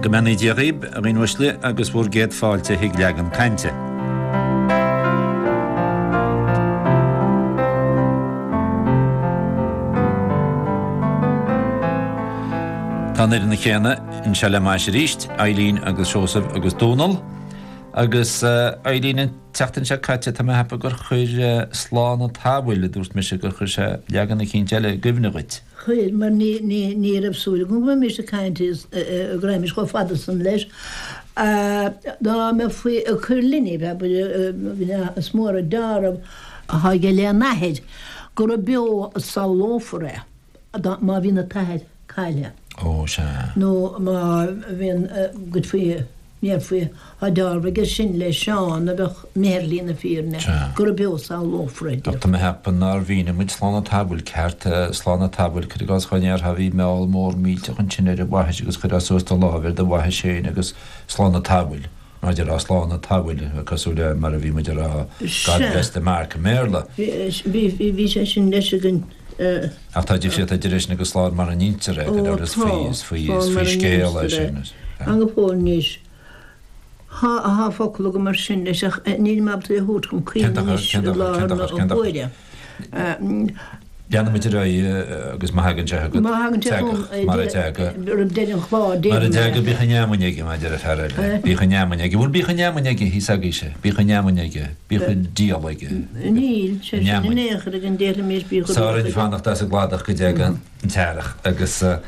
Go mbeannaí Dia dhaoib, a dhaoine uaisle, agus bhur gcéad fáilte chuig Leagan Cainte. Tá an fhoireann chéanna anseo le m'ais arís, Eileen agus Seosamh agus Dónal. Agus Eileen, an tseachtain seo caite tá mé a cheapadh gur chuir Slán an tSamhail, a dúirt mise, gur chuir sé leagan eicínt eile i gcuimhne dhuit. Chuir, mar ní raibh súil agam go mbeimis ag caint go raghaimís chomh fada san leis. Dá mbeifí ag cur linne, abair, is mór an deáramh atá aige lena athair gura beo a samhlófar é. Má bhíonn an t-athair caillthe. Ó, sea. Nó má bhíonn, goidfí, ndéarfaí, tá deáramh aige sin le Seán a bheadh imithe ar shlí na fírinne, gura beo a samhlófar é, Ach tá mé a cheapadh nár mhínigh muid slán an tsamhail ceart, slán an tsamhail, cuir i gcás dhá ndéarfá bhí meall mór millteach ansin ar an bhaithis agus chuirfeá suas do láimh ar do bhaithis féin agus slán an tsamhail. Mar a déarfá slán an tsamhail, cosúil le mar a bhí muid a rá God bless the mark i mBéarla. Bhí, bhí sé sin leis againn. Ach tá difríocht idir é sin agus slán mar a n-instear é, go deimhin is faoi, is faoi, is faoi scéal é sin. Tá go fóill anois. Tá, tá focal agam mar sin leis ach níl mé ábalta é a thabhairt chun cuimhne anois i láthair na huaire. Leanfaidh muid ar aghaidh agus má thagann sé chugat, Má thagann sé chugam, teagadh, mar a teagadh. roimh deireadh an chláir, Mar a déarfaidh mé. teagadh, bíodh an fheamainn aige, mar a deir an fear eile. Bíodh an fheamainn aige. Bhfuil bíodh an fheamainn aige thíos agaibhse? Bíodh an fheamainn aige. Bíodh an diabhal aige. Níl sé sin in aon chor againn, déarfaimis bíodh an Sár aige. Fanacht as an gcladach go dtaga an t-earrach agus a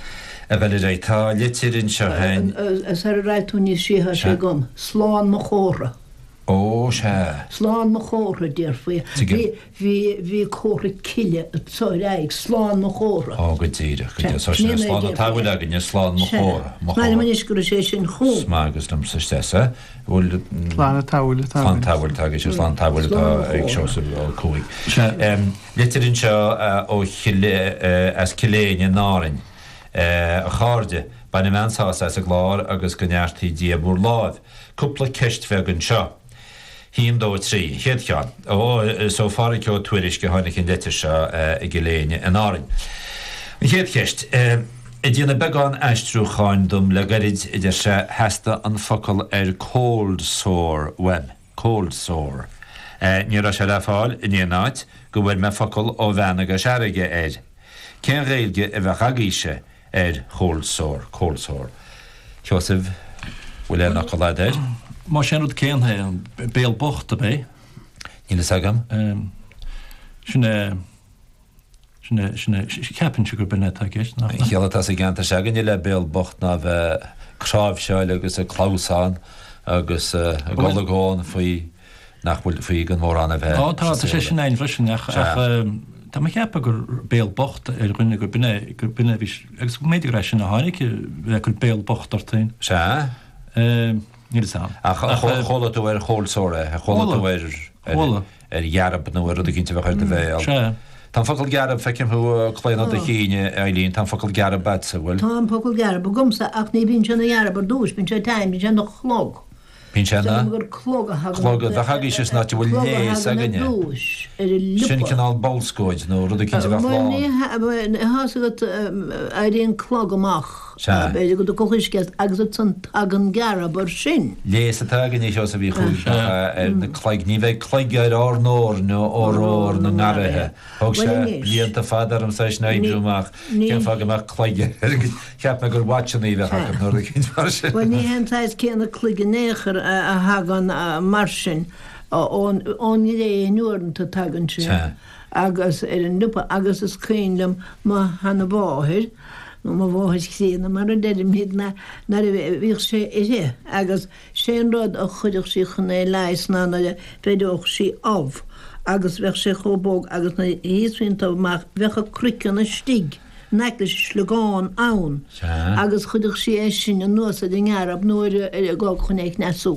dhul ar aghaidh. Tá litir anseo féin. Sara raghaidh tú níos sia, tá sé agam. Slán mo chomhartha. Ó, sea. Slán mo chomhartha, déarfaí. Tuigim. Bhí, bhí comhartha cille anso ar aghaidh, slán mo chomhartha. Ó, go díreach, go díreach. So sin é slán an tsamhail againne, slán mo chomhartha, mo Sea. Is maith liom chomhartha. anois go raibh sé sin chugam. Is maith agus liomsa isteach sa, bhfuil. Slán an tsamhail atá Slán an tsamhail atá aige, slán an tsamhail atá ag Seosamh Ó Cuaig. Sea. Litir anseo ó Chill, as Cill Éinne in Árainn. A chairde, bainim an-sásamh as an gclár agus go neartaí Dia bhur láimh. Cúpla ceist bheag anseo. Haon, dó, trí. An chéad cheann. Ó, is ó Phádhraic Ó Tuairisg a tháinig an leitir seo i gCill Éinne in Árainn. An chéad cheist. Ag déanamh beagán aistriúcháin dom le gairid, a deir sé, theastaigh an focal ar cold sore uaim. Cold sore. Ní raibh sé le fáil in aon áit go bhfuair mé focal ó bhean i gCois Fharraige air. Cén Ghaeilge a bheadh agaibhse? ar cold sore, cold sore. Sheosaimh, bhfuil aon fhocal a'd air? Más é an rud céanna é, an béal bocht, ab é? Níl fhios agam. Sin é, sin é, sin é, ceapaimse gurb in é atá i gceist, nach? An chiall atá sa gceantar se'againne le béal bocht ná bheith ag cráibhseáil agus ag clamhsán agus ag olagón faoi nach bhfuil faoi gan mórán a bheith Ó tá, tá sé sin ann freisin ach tá mé ag ceapadh gur béal bocht ar dhuine gurb in é, gurb in é a bhí, agus b'fhéidir gur as sin a tháinig bheith ag cur béal bocht ort féin. Sea. Níl fhios a'm. Ach chuala tú ar cold sore é? Chuala tú ar ar ghearb nó ar rud eicínt a bheadh ar do bhéal? Sea. Tá an focal gearb, feicim thú ag claonadh do chinn, a Eileen, tá an focal gearb a'dsa, bhfuil? Tá an focal gearb agamsa ach ní bhíonn sé ina ghearb ar dtúis, bíonn sé teann, bíonn sé ina chlog. Bíonn sé ina. Gur clog a thagann. Clog a bheadh agaibhse san áit a bhfuil Clog a léas thagann ar againne. dtúis ar an liopa. Sin cineál bolscóid nó rud eicínt a bheadh Bhuel, lán. ní hea, tá's agat, éiríonn clog amach, Sea. b'fhéidir go dtiocfadh uisce as agus ansan tagann gearb air sin. Léas atá againne, a Sheosaimh Uí Chuaig, nach ea, ar na cloig. Ní bheidh cloig ar ár n-ór nó ór na ngarraithe. Thóg Bhuel sé anois. blianta fada ormsa é sin a oibriú amach, cén fáth go mbeadh cloig ar, cheap mé gur watchannaí a bheadh acu nó rud eicínt mar sin. Bhuel ní hé an saghas céanna cloig in aon chor a thagann mar sin ón ngréin uaireanta tagann sé agus ar an liopa agus is cuimhin liom mo sheanamháthair nó mo mháthair chríonna mar a deirimid nuair a bhíodh sé uirthi agus Sé an rud a chuireadh sí chun é leigheas ná nuair a bheireodh sí ubh agus bheadh sé chomh bog agus nuair a thíosfaí an t-ubh amach bheadh a croiceann istigh in aice leis an sliogán ann agus chuireadh sí é sin anuas ar an ngearb nó ar an gclog chun é chneasú.